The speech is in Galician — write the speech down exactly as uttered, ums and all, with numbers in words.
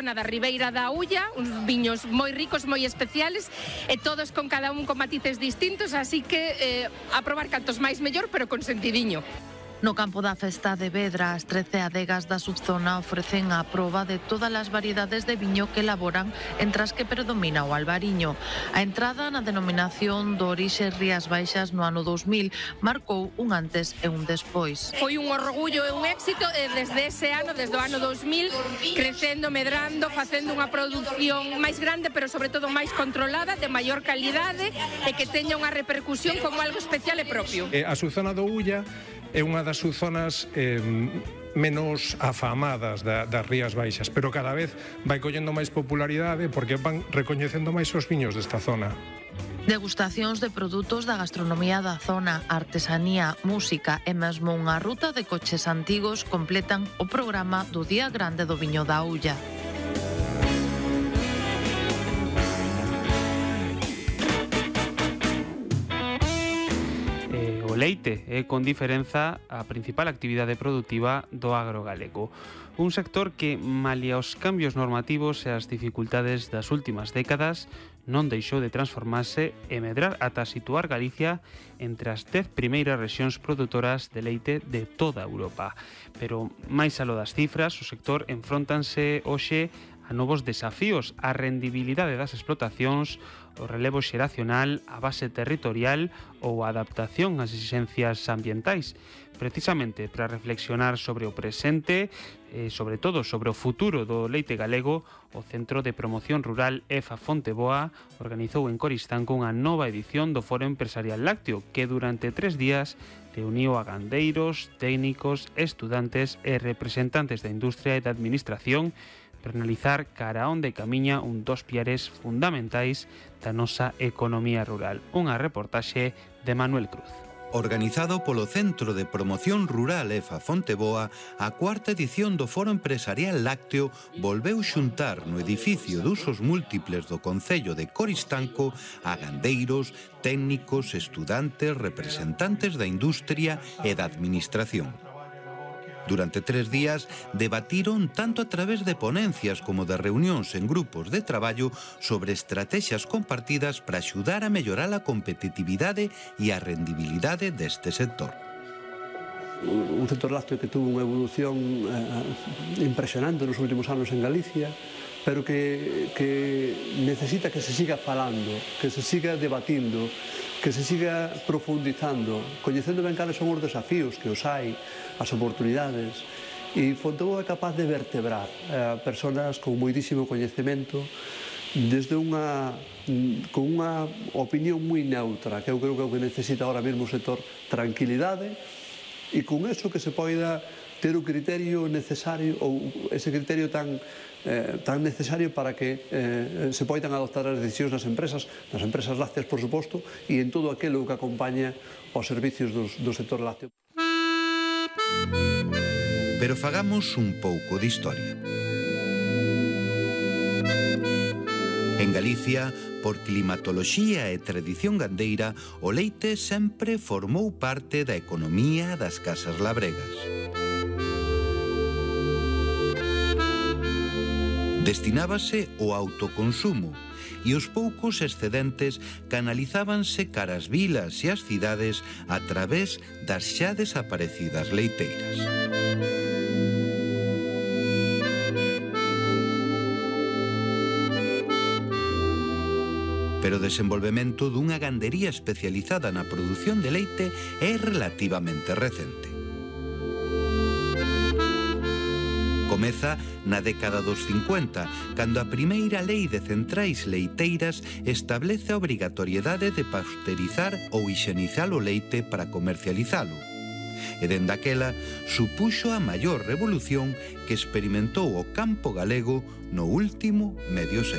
Na da Ribeira da Ulla, uns viños moi ricos, moi especiales, e todos con cada un con matices distintos, así que eh, a probar cantos máis mellor, pero con sentidiño. No campo da festa de Vedra, as trece adegas da subzona ofrecen a proba de todas as variedades de viño que elaboran, entre as que predomina o albariño. A entrada na denominación do orixe Rías Baixas no ano dous mil marcou un antes e un despois. Foi un orgullo e un éxito e desde ese ano, desde o ano dous mil, crecendo, medrando, facendo unha produción máis grande, pero sobre todo máis controlada, de maior calidade e que teña unha repercusión como algo especial e propio. Eh, a subzona do Ulla é unha das subzonas eh, menos afamadas da, das Rías Baixas, pero cada vez vai collendo máis popularidade porque van recoñecendo máis os viños desta zona. Degustacións de produtos da gastronomía da zona, artesanía, música e mesmo unha ruta de coches antigos completan o programa do Día Grande do Viño da Ulla. O leite é, con diferenza, a principal actividade produtiva do agro galego. Un sector que, malia os cambios normativos e as dificultades das últimas décadas, non deixou de transformarse e medrar ata situar Galicia entre as dez primeiras rexións produtoras de leite de toda Europa. Pero, máis aló das cifras, o sector enfróntanse hoxe a novos desafíos, a rendibilidade das explotacións, o relevo xeracional, a base territorial ou a adaptación ás exixencias ambientais. Precisamente para reflexionar sobre o presente e, sobre todo, sobre o futuro do leite galego, o Centro de Promoción Rural E F A Fonteboa organizou en Coristanco unha nova edición do Foro Empresarial Lácteo que durante tres días reuniu a gandeiros, técnicos, estudantes e representantes da industria e da administración para analizar cara a onde camiña un dos piares fundamentais da nosa economía rural. Unha reportaxe de Manuel Cruz. Organizado polo Centro de Promoción Rural E F A Fonteboa, a cuarta edición do Foro Empresarial Lácteo volveu xuntar no edificio de usos múltiples do Concello de Coristanco a gandeiros, técnicos, estudantes, representantes da industria e da administración. Durante tres días debatiron tanto a través de ponencias como de reunións en grupos de traballo sobre estrategias compartidas para axudar a mellorar a competitividade e a rendibilidade deste sector. Un sector lácteo que tuvo unha evolución eh, impresionante nos últimos anos en Galicia, pero que, que necesita que se siga falando, que se siga debatindo, que se siga profundizando, coñecendo ben cales son os desafíos que os hai, as oportunidades, e Fonteboa é capaz de vertebrar a eh, persoas con moitísimo coñecemento desde unha con unha opinión moi neutra, que eu creo que é o que necesita ahora mesmo o sector, tranquilidade, e con eso que se poida ter o criterio necesario, ou ese criterio tan Eh, tan necesario para que eh, se poidan adoptar as decisións nas empresas, nas empresas lácteas, por suposto, e en todo aquilo que acompaña os servicios dos, do sector lácteo. Pero fagamos un pouco de historia. En Galicia, por climatoloxía e tradición gandeira, o leite sempre formou parte da economía das casas labregas. Destinábase ao autoconsumo e os poucos excedentes canalizábanse cara as vilas e as cidades a través das xa desaparecidas leiteiras. Pero o desenvolvemento dunha gandería especializada na produción de leite é relativamente recente. Comeza na década dos cincuenta, cando a primeira lei de centrais leiteiras establece a obrigatoriedade de pasteurizar ou higienizar o leite para comercializalo. E dende aquela supuxo a maior revolución que experimentou o campo galego no último medio século.